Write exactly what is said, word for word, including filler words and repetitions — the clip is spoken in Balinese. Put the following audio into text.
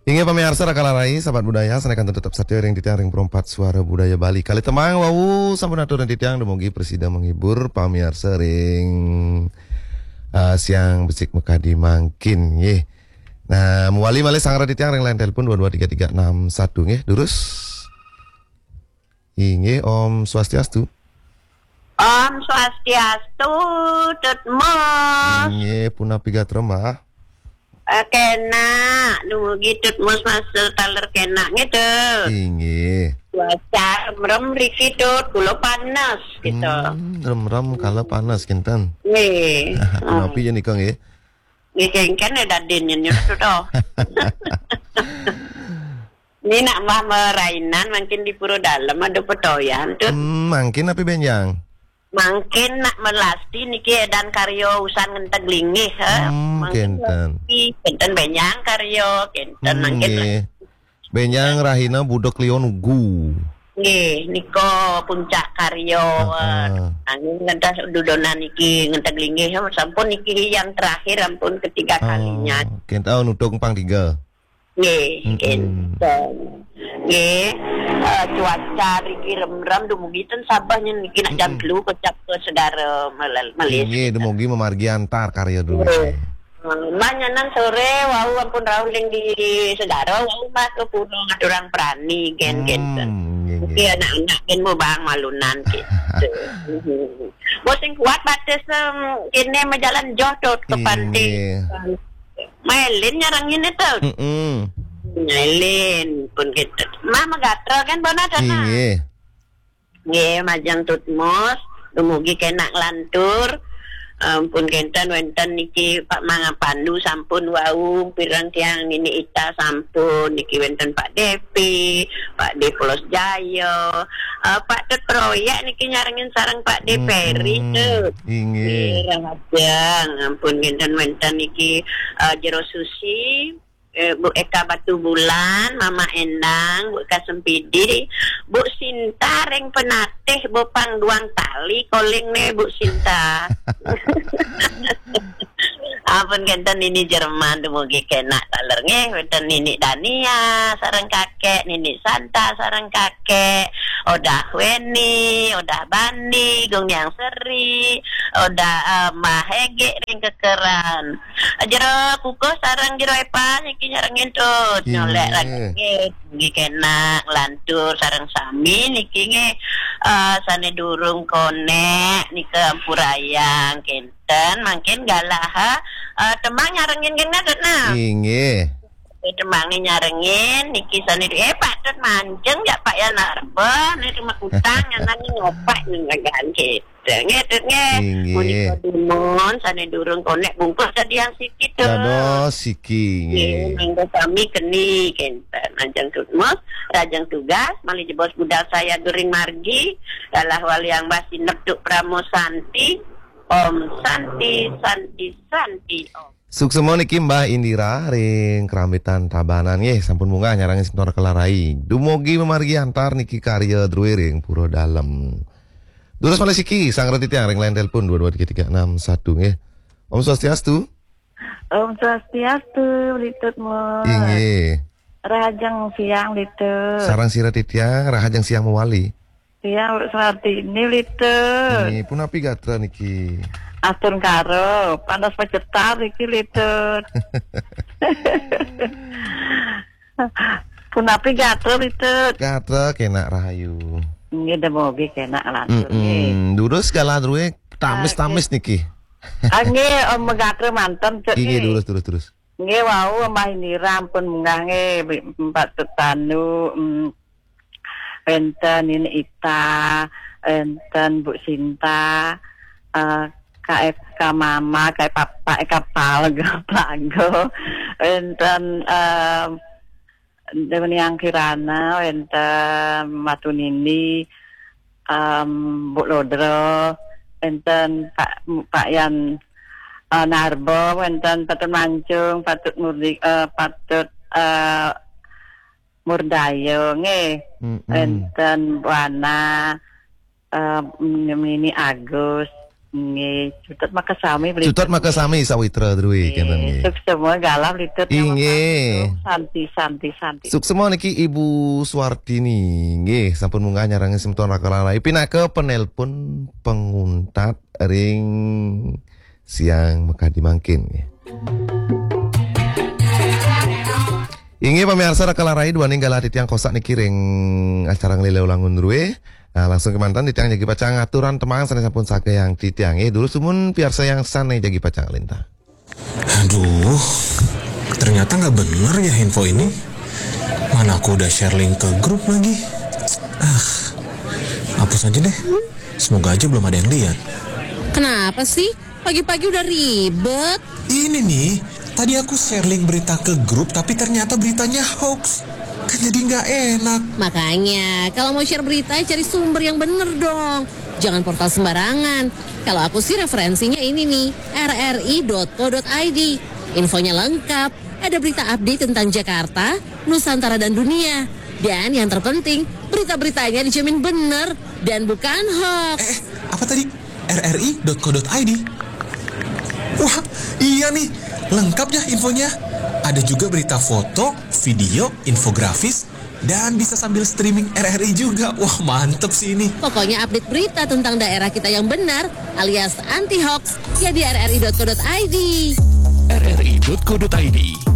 Inggih pamiarsa Rakala Rai, sahabat budaya, sané kantun tetep satia ring titiang ring Perempat Suara Budaya Bali. Kalih tembang wau sampun atur ring titiang, dumugi prasida menghibur pamiarsa ring, eh, siang becik makadi mangkin, nggih. Nah, mawali malih sareng titiang ring line telepon dua dua tiga tiga enam satu, nggih. Durus. Inggih, Om Swastiastu. Om Swastiastu, Tut Mus. Inggih, punapi gatra, Mbah? Eh, kenak, dumugi Tut Mus masih taler kenak nggih, Tut. Inggih. Cuaca remrem riki, Tut, kula panas gitu. Hmm, remrem kala panas kinten. Nggih. Punapi ya nika nggih. Nggih, kengken ya dadin nyen, Tut, oh. Ini nak Mbah merainan mungkin di Pura Dalem ada petoyan, Tut. Hmm, mangkin napi benjang? Mangkin nak melasti niki edan karya usan ngenteg linggih, ha. Hmm, mangkin kenten. Melasti, kenten benjang karya, kenten hmm, mangkin nggih. Benjang rahina budak lion ugu. Nggih, nika puncak karya. Heeh. Angin ngentas dudonan niki ngenteg linggih, ha, sampun niki yang terakhir ampun ketiga kalinya. Oh, kenten nutung pang tiga. Nggih, mm-mm. Nggih. Eh, cuaca riki remrem dumugi ten sabahnya niki nak jam mm-mm. Telu kecap ke segara melel-, melis. Nggih, dumugi memargi antar karya dulu. Nggih. Eh, manyanan sore wau ampun rauh ling di segara wau mah ke pura ngaturang prani gen-gen. Hmm, nggih, nggih. Nggih, anak-anak gen mau bang malunan gitu. Mau sing kuat batis, em, kene majalan joh, Tut, ke pantai. Inggih. Mailin nyarengin itu. Mm-mm. Mailin pun gitu. Mah megatel kan bona tanah. Inggih. Nggih, majeng Tut Mus, dumugi kenak lantur. Ampun kenten wenten niki Pak Manga Pandu sampun wau, pirang tiang Nini Ita sampun, niki wenten Pak Depi, Pak Depolos Jaya, eh, Pak Tut Proyek niki nyarengin sareng Pak De Peri, mm-mm. Tut. Inggih. Nggih, rahajeng. Ampun kenten wenten niki, eh, Jero Susi, eh, Bu Eka Batu Bulan, Mama Endang, Bu Eka Sempidi, Bu Sinta ring penatih, Bu pang duang tali koling ne, Bu Sinta. Ampun kenten Nini Jerman dumugi kenak taler nggih, wenten Nini Dania sareng kakek, Nini Santa sareng kakek, Odah Weni, Odah Bandi, Gung Niang Seri, Odah, eh, Mah Hege ring kekeran. Jero Kukuh sareng Jero Epa niki nyarengin Tut. Nggih. Nyolek lagi nggih. Nggih kenak lantur sareng sami niki nggih, eh, sane durung konek nika ampurayang kenten mangkin galah, eh, tembang nyarengin kena Tut nah. Inggih. Eh, tembang ni nyarengin niki sane du-, eh, Pak Tut mancing jak Pak Yan Arba ni rumah kutang nyanan ni ngopak ni ngagan kenten. Nggih, Tut, nggih. Inggih. Punika dumun, sane durung konek bungkus dadi yang siki, Tut. Dados siki, nggih. Nggih, mangga sami keni, kenten. Majeng Tut Mus, rajeng tugas, malih jebos budal saya during margi, dalah waliang basi neptuk pramo santi, Om Santi, Santi, Santi, Om. Suksema niki Mbah Indira ring Krambitan Tabanan nggih, sampun munggah nyarengin semeton Kelarai. Dumugi mamargi antar niki karya druwe ring Pura Dalem. Durus malih siki, sareng titiang ring line telepon dua dua tiga tiga enam satu nggih. Om Swastiastu. Om Swastiastu, Litut Mus. Inggih. Rahajeng siang, Litut. Sareng sira titiang, rahajeng siang mawali. Siang, Bu Suwartini, Litut. Nggih, punapi gatra niki? Astungkara, panas pacetar niki, Litut. Punapi gatra, Litut? Gatra kenak rahayu. Nggih, dumugi kenak lantur, mm-mm, nggih. Durus galah druwe tamis-tamis nggih. Niki. Ah, nggih, Om gatra manten, Cek, inggih, nggih. Durus, durus, durus. Nggih, wau Mbah Indira ampun munggah nggih, Bi-, Mbak Tutanu, mm, wenten Nini Ita, wenten Bu Sinta, eh, K F K Mama, K F Papa, K Palgo, Palgo, wenten, eh, Dewi Niang Kirana, wenten Matu Nindi, em, Bu Lodro, wenten Pak, Pak Yan, eh, Narbo, wenten Patut Mancung, Patut Murdi, eh, Patut, eh, Murdayo, nggih. Mm-mm. Wenten Bu Ana, eh, Nini Agus, Nggih, cutet maka sami beli. Cutet maka sami sawitra drui kenten nggih. Sukses semua galah beli tut. Inggih. Santi, santi, santi. Suksma niki Ibu Suartini nggih sampun munggah nyarengin semeton Raka Larai pinaka penelpon penguntat ring siang makadi mangkin nggih. Inggih pamiarsa Raka Larai duaning galah titiang kosak niki ring acara nglilih ulangun drue. Nah, langsung kemanten titiang jagi pacang aturan tembang sane sampun sakayang titiang nggih. Dulu sumun piarsa yang sane jagi pacang lintah. Aduh, ternyata nggak bener ya info ini. Mana aku udah share link ke grup lagi. Ah, hapus aja deh. Semoga aja belum ada yang lihat. Kenapa sih? Pagi-pagi udah ribet. Ini nih, tadi aku share link berita ke grup tapi ternyata beritanya hoax. Kan jadi nggak enak. Makanya, kalau mau share berita, cari sumber yang bener dong. Jangan portal sembarangan. Kalau aku sih referensinya ini nih, rri.co.id. Infonya lengkap, ada berita update tentang Jakarta, Nusantara dan dunia. Dan yang terpenting, berita-beritanya dijamin bener dan bukan hoax. Eh, eh, apa tadi? rri.co.id. Wah, iya nih, lengkap ya infonya. Ada juga berita foto, video, infografis, dan bisa sambil streaming R R I juga. Wah, mantep sih ini. Pokoknya update berita tentang daerah kita yang benar alias anti hoax ya di rri.co.id. rri.co.id.